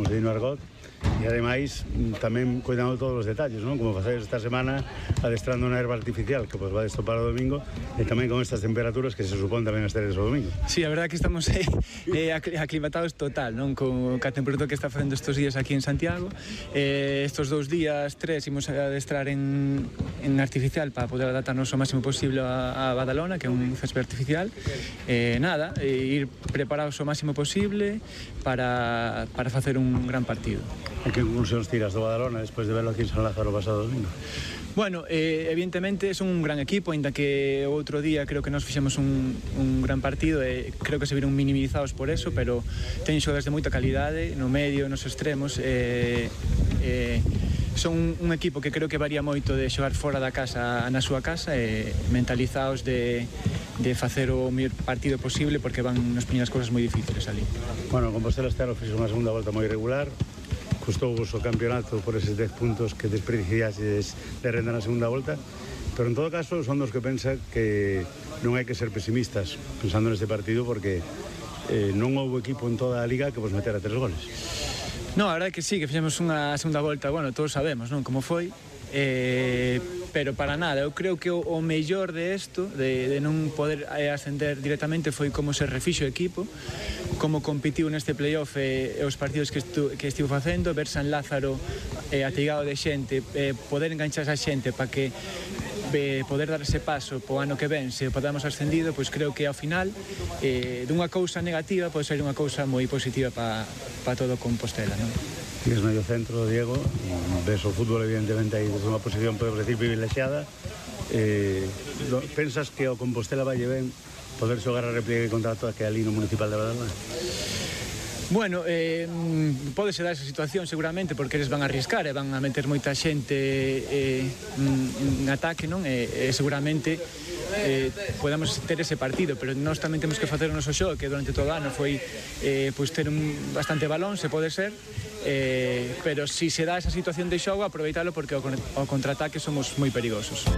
como se di no argot, e ademais tamén cuidando todos os detalles, non? Como facedes esta semana adestrando unha herba artificial que pues va a estopar o domingo, e tamén con estas temperaturas que se supón tamén esteres o domingo. Sí, a verdade que estamos aclimatados total, non? Con a temperatura que está facendo estes días aquí en Santiago. Estes 2 días, 3, imos a adestrar en artificial para poder adaptarnos o máximo posible a Badalona, que é un césped artificial. Ir preparados o máximo posible para facer un gran partido. E que conclusións tiras do Badalona despois de verlo aquí en San Lázaro o pasado domingo? Bueno, evidentemente son un gran equipo, ainda que o outro día creo que nos fixemos un gran partido e creo que se viron minimizados por eso, pero teñen xogadores de moita calidade no medio, nos extremos, son un equipo que creo que varía moito de xogar fora da casa na súa casa e mentalizados de facer o mellor partido posible, porque van nos poñer as cousas moi difíciles ali. Bueno, Compostela este ano fixo unha segunda volta moi regular, custou-vos o campeonato por eses 10 puntos que desperdiciaxes de renda na segunda volta, pero en todo caso son dos que pensan que non hai que ser pesimistas pensando neste partido, porque non houve equipo en toda a liga que vos metera 3 goles. No, a verdade é que sí, que fixemos unha segunda volta, bueno, todos sabemos, non, como foi, pero para nada, eu creo que o mellor de isto, de non poder ascender directamente, foi como se refixo o equipo, como competiu neste playoff e os partidos que estivo facendo, ver San Lázaro ateigado de xente, poder enganchar a xente para que poder dar ese paso po ano que ven, se podamos ascendido, pois creo que ao final dunha cousa negativa pode ser unha cousa moi positiva para todo Compostela, non? Tienes medio centro, Diego, ves o fútbol evidentemente aí desde unha posición, podemos decir, privilexiada. Pensas que o Compostela vai ben poder xogar a repliegue contra todo que ali no Municipal de Badalona? Bueno, pode ser dar esa situación seguramente, porque eles van a arriscar e van a meter moita xente en ataque, non? E seguramente podamos ter ese partido, pero nós tamén temos que facer o noso xogo, que durante todo o ano foi pois ter bastante balón, se pode ser, pero si se dá esa situación de xogo, aproveitalo, porque ao contraataque somos moi perigosos.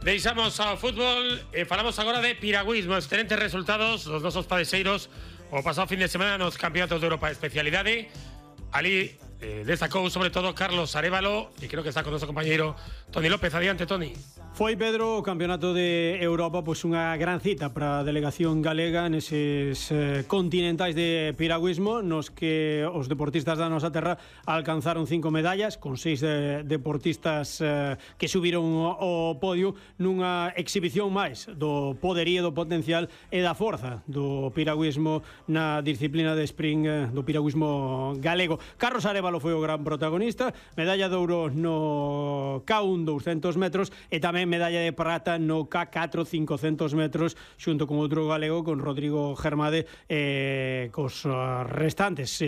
Deixamos ao fútbol e falamos agora de piragüismo. Excelentes resultados dos nosos padexeiros o pasado fin de semana nos campeonatos de Europa de especialidade. Ali destacou sobre todo Carlos Arévalo, e creo que está con noso compañeiro Toni López. Adiante, Toni. Foi, Pedro, o Campeonato de Europa pois unha gran cita para a delegación galega neses continentais de piragüismo, nos que os deportistas da nosa terra alcanzaron 5 medallas, con 6 deportistas que subiron ao podio nunha exhibición máis do poderío, do potencial e da forza do piragüismo na disciplina de sprint do piragüismo galego. Carlos Arévalo foi o gran protagonista, medalla de ouro no K1 200 metros e tamén medalla de prata no K4 500 metros xunto con outro galego, con Rodrigo Germade, cos restantes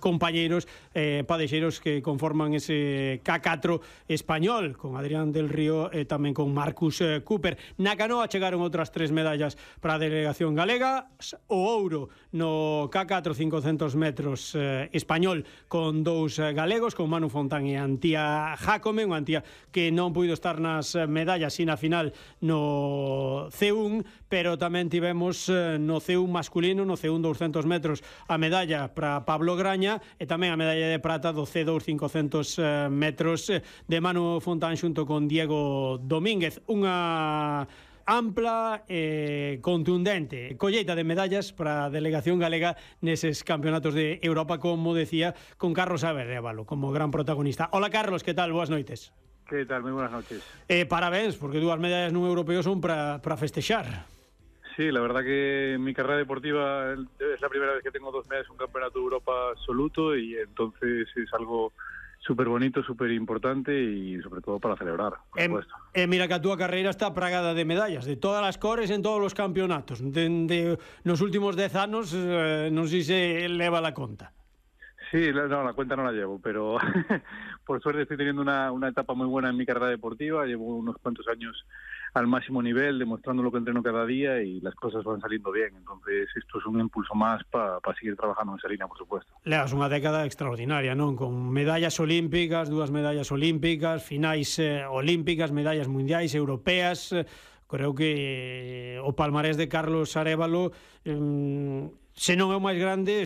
compañeiros padexeiros que conforman ese K4 español, con Adrián del Río e tamén con Marcus Cooper. Na canoa chegaron outras 3 medallas para a delegación galega, o ouro no K4 500 metros español con 2 galegos, con Manu Fontán e Antía Jácome, unha Antía que non puido estar nas medallas e na final no C1, pero tamén tivemos no C1 masculino, no C1 200 metros, a medalla para Pablo Graña e tamén a medalla de prata do C2 500 metros de Manu Fontán xunto con Diego Domínguez. Unha ampla e contundente colleita de medallas para a delegación galega neses campeonatos de Europa, como decía, con Carlos Arévalo como gran protagonista. Hola, Carlos, que tal? Boas noites. Que tal? Moi buenas noches. Parabéns, porque 2 medallas nun europeo son para festexar. Sí, la verdad que en mi carrera deportiva es la primera vez que tengo 2 medallas en un campeonato de Europa absoluto, y entonces es algo súper bonito, súper importante y sobre todo para celebrar, por supuesto. Mira que a túa carreira está plagada de medallas, de todas as cores en todos os campeonatos. Nos últimos 10 anos non sei se leva la conta. Sí, no, la cuenta no la llevo, pero por suerte estoy teniendo una etapa muy buena en mi carrera deportiva. Llevo unos cuantos años al máximo nivel, demostrando lo que entreno cada día, y las cosas van saliendo bien. Entonces esto es un impulso más para seguir trabajando en esa línea, por supuesto. Levas unha década extraordinaria, non? Con medallas olímpicas, 2 medallas olímpicas, finais olímpicas, medallas mundiais, europeas. Creo que o palmarés de Carlos Arévalo, se non é o máis grande,